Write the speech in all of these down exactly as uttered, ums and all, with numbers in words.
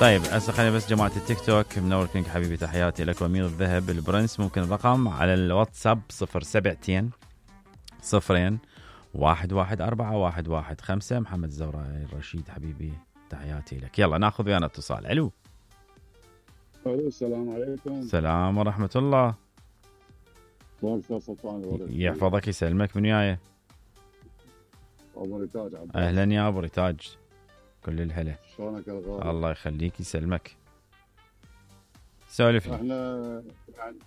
طيب هسه خلينا بس جماعة التيك توك. منور كينج حبيبي، تحياتي لك. وامير الذهب البرنس، ممكن الرقم على الواتساب صفر سبعتين صفرين واحد واحد أربعة واحد واحد خمسة. محمد الزوراء الرشيد حبيبي تحياتي لك. يلا ناخذ ويانا اتصال. الو الو السلام عليكم. السلام ورحمة الله. سلطان يحفظك يسلمك. من وياي؟ ابو ريتاج. اهلا يا ابو ريتاج، كل الهلا. شلونك الغالي؟ الله يخليك يسلمك. سولف لي. احنا يعني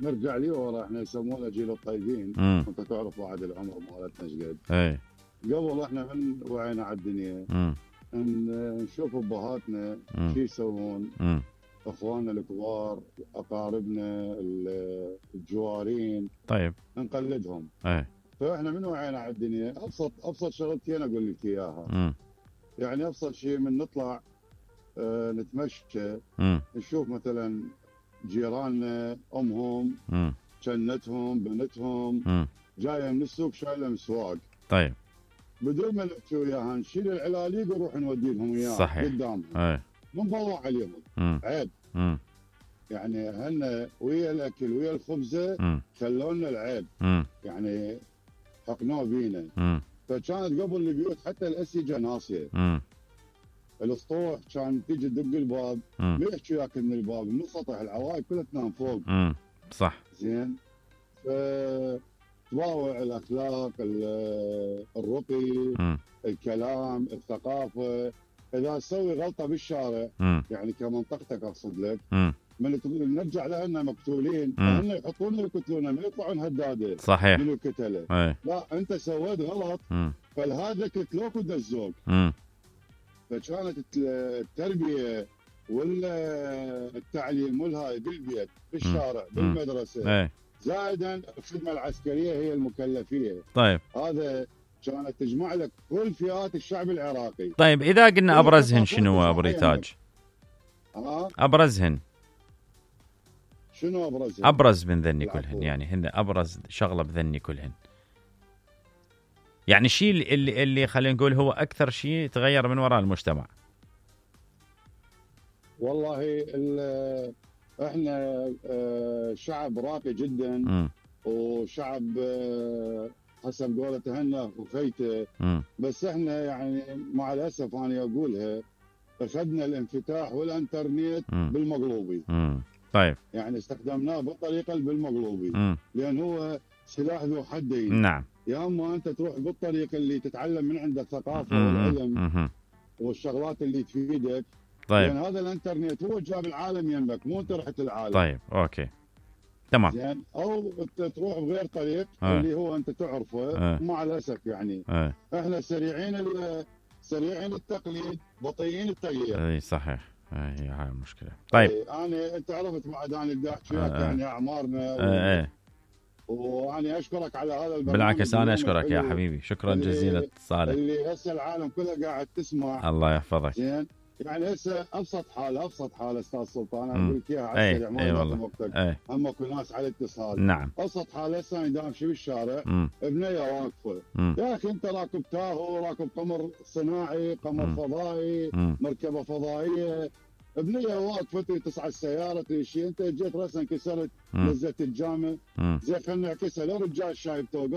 نرجع لي ورا، احنا يسمونا جيل الطيبين. انت تعرف بعد العمر مالتنا ايش قد. اي قبل احنا من وعينا على الدنيا ان نشوف ابهاتنا شو يسوون، اخواننا الكبار، اقاربنا الجوارين، طيب نقلدهم. اي فاحنا من وعينا على الدنيا ابسط ابسط شغلتين اقول لك اياها. م. يعني ابسط شيء من نطلع اه نتمشى، م. نشوف مثلا جيراننا امهم م. جنتهم بنتهم م. جايه من السوق شايله مسواق، طيب بدون ما نحكي وياها نشيل العلاليق ونروح نودي لهم اياها صحيح قدامهم. اي نضوع عليهم. م. عيب. م. يعني هن ويا الاكل ويا الخبزه خلونا العيب. م. يعني حقنوه بينا. م. فكانت قبل البيوت حتى الاسيجه ناصيه. م. الاسطوح كان تيجي تدق الباب ما يحكي وياك من الباب، من سطح العوائد كلها تنام فوق. م. صح. زين. ف تواوع الاخلاق، الرقي، م. الكلام، الثقافه. اذا تسوي غلطه بالشارع م. يعني كمنطقتك اقصد لك، م. من نرجع لنا مقتولين، فهم يحطون يقتلون، ما يطلعون هداده. صحيح. من القتله. ايه. لا انت سويت غلط م. فالهذا قتلوك ودزوك. م. فكانت التربيه والتعليم والهاي بالبيت بالشارع م. بالمدرسه. ايه. زائدا الخدمه العسكريه هي المكلفيه. طيب. هذا كانت تجمع لك كل فئات الشعب العراقي. طيب اذا قلنا ابرزهن شنو ابو ريتاج؟ ها؟ ابرزهن شنو ابرزهن؟ ابرز من ذني كلهن، يعني هن ابرز شغله بذني كلهن. يعني الشيء اللي اللي خلينا نقول هو اكثر شيء تغير من وراء المجتمع. والله احنا شعب راقي جدا. م. وشعب حسب قولة هنا وخيته. بس احنا يعني مع الاسف انا اقولها اخذنا الانفتاح والانترنت م. بالمقلوبي. م. طيب. يعني استخدمناه بالطريقه بالمقلوبي. م. لان هو سلاح ذو حدين. نعم. يا اما انت تروح بالطريقه اللي تتعلم من عند الثقافه م. والعلم م. والشغلات اللي تفيدك. طيب. لان هذا الانترنت هو جاب العالم يمك، مو انت رحت العالم. طيب اوكي تمام. زين. او تروح بغير طريق أه. اللي هو انت تعرفه. أه. مع الاسف يعني أه. احنا سريعين سريعين التقليد بطيئين التغيير. اي صحيح، هي هاي المشكله. طيب انا انت عرفت بعد انا بدي احكي وياك يعني اعمارنا و... ايه وانا اشكرك على هذا البرنامج. بالعكس انا اشكرك يا حبيبي، شكرا جزيلا اتصالك. اللي هسه العالم كله قاعد تسمع. الله يحفظك. زين. يعني هسه ابسط حاله ابسط حاله استاذ سلطان انا اقول لك اياها على السريع ما ياخذ وقتك. هم اكو ناس على اتصال. نعم. ابسط حاله هسه انا دامشي بالشارع بنيه واقفه. مم. يا اخي انت راكب تاهو، راكب قمر صناعي، قمر مم. فضائي، مم. مركبه فضائيه، بنيه واقفه تسعى السياره تمشي، انت جيت راسا كسرت، نزلت الجامع، زين خلينا نعكسها، لو رجال شايب توقف